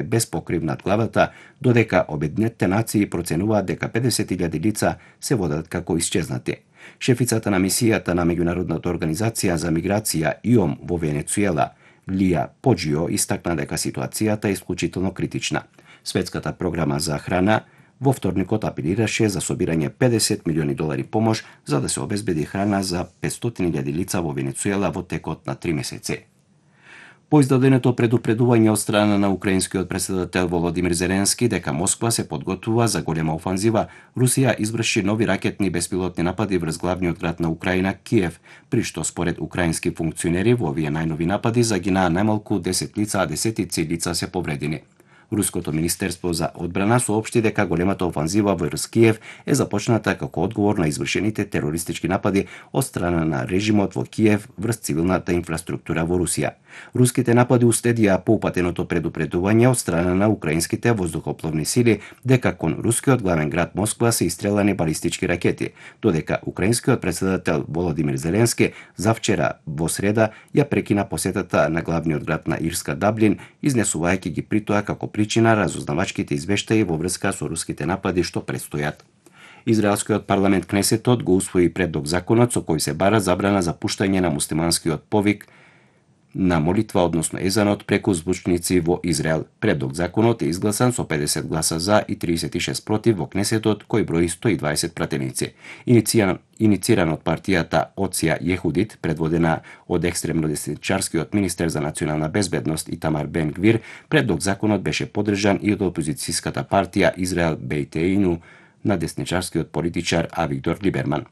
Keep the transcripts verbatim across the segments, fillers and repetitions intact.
без покрив над главата, додека Обединетите нации проценуваат дека педесет илјади лица се водат како исчезнати. Шефицата на мисијата на меѓународната организација за миграција И О М во Венецуела, Лија Поџио, истакна дека ситуацијата е исклучително критична. Светската програма за храна во вторникот апелираше за собирање педесет милиони долари помош за да се обезбеди храна за петстотини илјади лица во Венецуела во текот на три месеци. По издаденото предупредување од страна на украинскиот претседател Володимир Зеленски дека Москва се подготвува за голема офанзива, Русија изврши нови ракетни беспилотни напади врз главниот град на Украина, Киев, при што според украински функционери во овие најнови напади загинаа најмалку десет лица, а десетици лица се повредени. Руското министерство за одбрана соопшти дека големата офанзива врз Киев е започната како одговор на извршените терористички напади од страна на режимот во Киев врз цивилната инфраструктура во Русија. Руските напади уследија поупатеното предупредување од страна на украинските воздухопловни сили дека кон рускиот главен град Москва се истрелани балистички ракети, додека украинскиот претседател Володимир Зеленски завчера во среда ја прекина посетата на главниот град на Ирска Даблин, изнесувајќи ги притоа како причина разузнавачките извештаи во врска со руските напади што предстојат. Израелскиот парламент Кнесетот го усвои предлог законот со кој се бара забрана за пуштање на муслиманскиот повик на молитва, односно езанот, преку звучници во Израел. Предлог законот е изгласан со педесет гласа за и тридесет и шест против во Кнесетот, кој брои сто и дваесет пратеници. Иницијан, иницииран од партијата Оција Јехудит, предводена од екстремно десничарскиот министер за национална безбедност Итамар Бен Гвир, предлог законот беше поддржан и од опозицијската партија Израел Бејтеину на десничарскиот политичар Авигдор Либерман.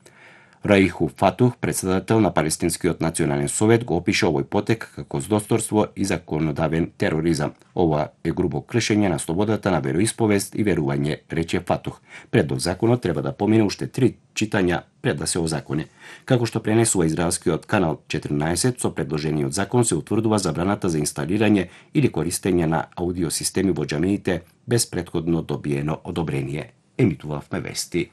Раиху Фатух, председател на Палестинскиот национален совет, го опиша овој потек како злосторство и законодавен тероризам. Ова е грубо кршење на слободата на вероисповест и верување, рече Фатух. Предлог законот треба да помине уште три читања пред да се озакони. Како што пренесува израелскиот канал четрнаесет, со предложениот закон се утврдува забраната за инсталирање или користење на аудиосистеми во џамиите без претходно добиено одобрение. Емитувавме вести.